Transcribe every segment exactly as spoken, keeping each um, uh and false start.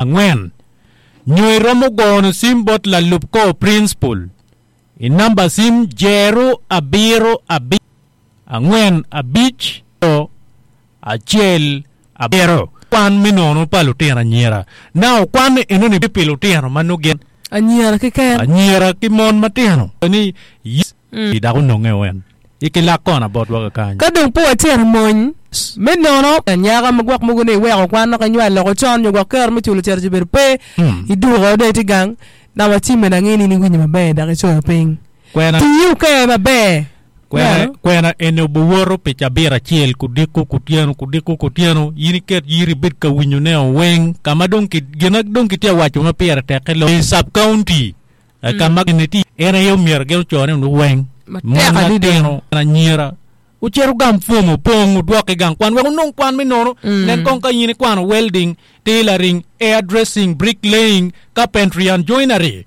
Angwen, nyo iromo gono cim bot lalub kor principal i namba cim jero abiro abic angwen abic acel abiro. Kwan me nono pa lutino anyira. Now kwan enoni pi lutino ma nongo gin Anyira keken. anyira ki mon matino ni yes dok ononge wen i kilak kona botwa kakany. Ka dong pe wacito i mony me nono anyaka ma gwok mogo ni iweko kwan dok inywal loko con nyo gwok kero me culo cito ci bedo pe iduko dong itye gang namba cimme dong angeyo ni in iwinyo maber dok icoyo piny. Kwena Tii oker maber. Kwena, kwena eni obiwoto pi cabit acel kudiko kutyeno kudiko kutyeno in iket yiri ibed ka winyo ne weng ka ma dong ki gin dong kitye ka waco ma pire tekke loyo i sub county ka ma gin tye en aye omyero gin ocone wunu weng Matek mon adada. matino anyira wucit wugam pwom opong wudwok i gang kwan wek wunong kwan me nono nen kong ka in ikwano welding tailoring hair dressing bricklaying carpentry and joinery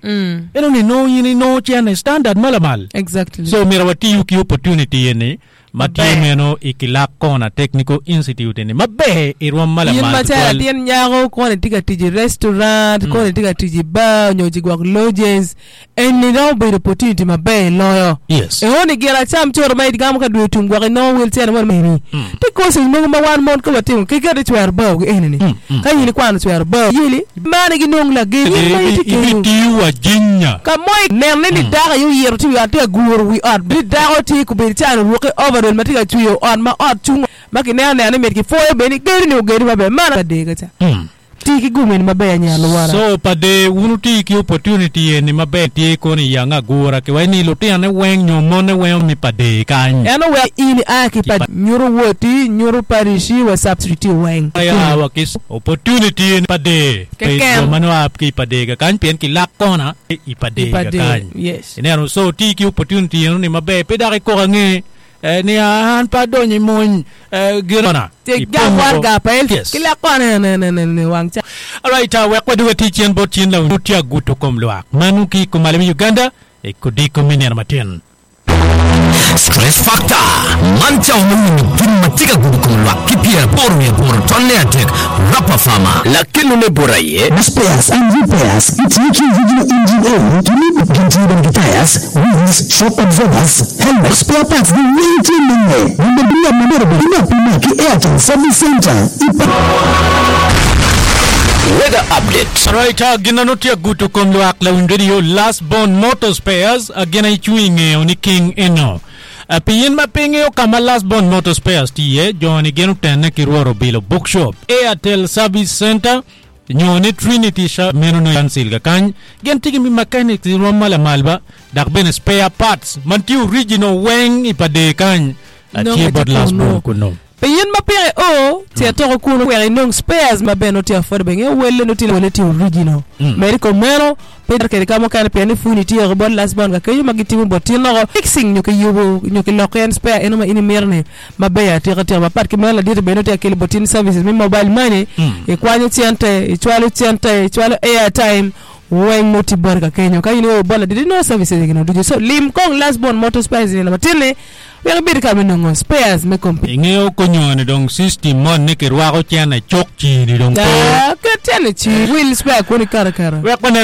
eno ni nongo in inongo cene standard ma lamal Exactly. so myero watiyu ki opportunity eni ma tye Maber. meno i Kilak Corner Technical Institute eni maber i rwom ma In lamal macalo tutwal latin nyako kono itye ka tic i restaurant, kono itye ka tic i bar nyo ci gwok lodges, eni romo bedo opportunity maber loyo. yes Eo ni gin acam coro ma igamo ka dwe otum gwok inongo wel cene mo meni. Tye courses mogo ma wan mon ka watimo ki keti cwero bao gi eni ni. Ka in ikwano cwero bao yeli mani ginong lageng in ma itye kenyo. ibitiyo wa jinya Ka mo nene ni dako aye oyito tye i wi ot tye ka guro wi ot ni dako tye kobedo calo orukke overall ma tye ka cweyo ot ma ot cung ma kineno neno ni mit kipwoyo bene ni gedo ni ogedo maber man adek ka ca ti ki gumeni maber anyira luwota so pa de wun wuti ki opportunity eni maber tye kono i yang agura kiwaco ni lutinone weng nyo monne weng omi pa de kany en oweko in ia ki pa nyuto woti nyuto parish wa sub street weng ya wa ki opportunity eni pa de pe Keken. jo ma nongo a ki i pa de kakany pien kilak kona i pa de I pa de, kakany yes. ineno so ti ki opportunity eno ni maber pe dok ikok ange eh, ni an pe adonyo i mony eh, gin kona Ti gang warga pa el Yes. ki lak kona ne ne ne ne wang ca Alright, uh, wek waduga tic cen bot cin lawu tye aguto kom lwak mano ki kumalo me Uganda i kodiko me nino matin Stress Factor man cawa me winyo gin ma tye ka gudo kom lwak ki pyeraboro wiye aboro tonne adek Rapper Farmer lakelone bot aye Spares and repairs. It's making original engine oil to leave with tires, wheels, shock absorbers, helmet, spare parts, the waiting mene. Nimebia mamero ina pima ki Airtel Service Center. Ipa Weather Update Alright, uh, gin ano tye aguto kom lwak lawiny radio Last Born Motor Spares uh, gin ay cwiny ngeo ni King eno. Uh, pi in ma pe ingeo ka ma Last Born Motor Spares tye iye, jo-ni gin otenne ki Rwot Obilo Bookshop, Airtel Service Center, nyo ni Trinity Sha meno no Council kakany gin tye ki mechanics i rwom ma lamal ba dok bene spare parts man tye original weng i pa de kany uh, Nongo tye bot tye Last kunu. Born kuno. Pe in ma pire o ce toko kunu wek inong spares ma bene tye affordable inge welle no tye welle tye original medi kom meno pe kede ka mukene pien ni funi tye ko bot last born ka kenyo ma gitimo bot tin loko fixing nyo kiyubo nyo kiloko en spare eno ma in imito ni maber atika tika mapat ki meno ladit bene tye ka kelo bot tin services me mobile money ikwanyo cente icwalo cente icwalo airtime weng no tye boti ka kenyo ka in ioro bot ladit inongo services gino ducu so lim kong last born motor spares nino matin ni wek ibed ka me nongo spares me computer Ingeo konyoni dong system mon ni kirwako cene cok cini dong pe. Ah, ket cene ci wil spare kuni kara kara Wek wanen